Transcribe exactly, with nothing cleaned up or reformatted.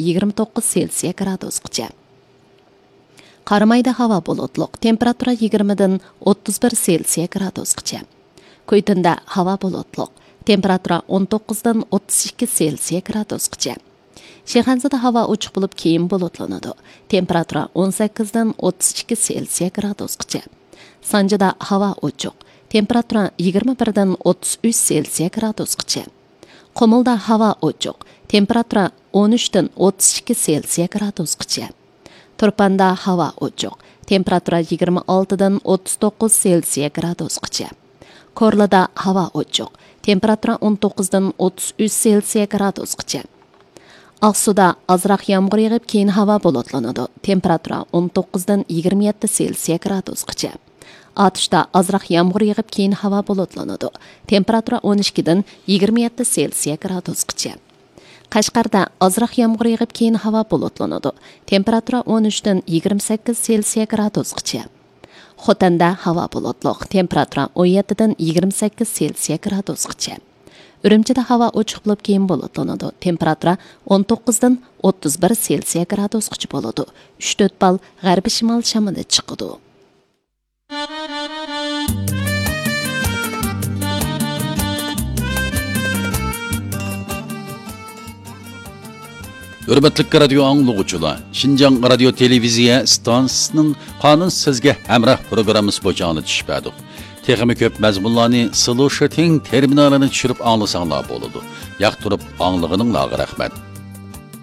يىگىرمە توققۇز سېلسىيە گرادۇسقىچە. قارامايدا ھاۋا بۇلۇتلۇق، تېمپېراتۇرا يىگىرمىدىن ئوتتۇز بىر سېلسىيە گرادۇسقىچە. كۇيتىندا ھاۋا بۇلۇتلۇق، تېمپېراتۇرا ئون توققۇزدىن ئوتتۇز ئىككى سېلسىيە گرادۇسقىچە. شىخەنزىدە ھاۋا ئوچۇق بولۇپ، كېيىن بۇلۇتلىنىدۇ. تېمپېراتۇرا ئون سەككىزدىن ئوتتۇز ئىككى سېلسىيە گرادۇسقىچە. سانجىدا ھاۋا ئوچۇق، تېمپېراتۇرا يىگىرمە بىردىن ئوتتۇز ئۈچ سېلسىيە گرادۇسقىچە. قۇمۇلدا ھاۋا ئوچۇق، تېمپېراتۇرا ئون ئۈچتىن ئوتتۇز ئىككى سېلسىيە گرادۇسقىچە. تۇرپاندا ھاۋا ئوچۇق، تېمپېراتۇرا يىگىرمە ئالتىدىن ئوتتۇز توققۇز سېلسىيە گرادۇسقىچە. كورلىدا ھاۋا ئوچۇق، تېمپېراتۇرا ئون توققۇزدىن ئوتتۇز ئۈچ سېلسىيە گرادۇسقىچە. ئاقسۇدا ئازراق يامغۇر يېغىپ، كېيىن ھاۋا بۇلۇتلىنىدۇ. تېمپېراتۇرا ئون توققۇزدىن يىگىرمە يەتتە سېلسىيە گرادۇسقىچە. ئاتۇشتا ئازراق يامغۇر يېغىپ، كېيىن ھاۋا بۇلۇتلىنىدۇ. تېمپېراتۇرا ئون ئىككىدىن يىگىرمە يەتتە سېلسىيە گرادۇسقىچە. قەشقەردە ئازراق يامغۇر يېغىپ، كېيىن ھاۋا بۇلۇتلىنىدۇ. تېمپېراتۇرا ئون ئۈچتىن يىگىرمە سەككىز سېلسىيە گرادۇسقىچە. خوتەندە ھاۋا بۇلۇتلۇق، تېمپېراتۇرا ئون يەتتىدىن يىگىرمە سەككىز سېلسىيە گرادۇسقىچە. ئۈرۈمچىدە ھاۋا ئوچۇق بولۇپ، كېيىن بۇلۇتلىنىدۇ. تېمپېراتۇرا ئون توققۇزدىن ئوتتۇز بىر سېلسىيە گرادۇسقىچە بولىدۇ. ئۈچ تۆت بال غەربىي شىمال شامىلى چىقىدۇ. ھۆرمەتلىك رادىيو ئاڭلىغۇچىلار، شىنجاڭ رادىيو تېلېۋىزىيە ئىستانسىسىنىڭ قانۇن سىزگە ھەمراھ پروگراممىسى بويىچە ئاڭلىتىش بەردۇق. تېخىمۇ كۆپ مەزمۇنلارنى سلوشىتىڭ تېرمىنالىنى چۈشۈرۈپ ئاڭلىساڭلار بولىدۇ. ياقتۇرۇپ ئاڭلىغىنىڭلارغا رەھمەت.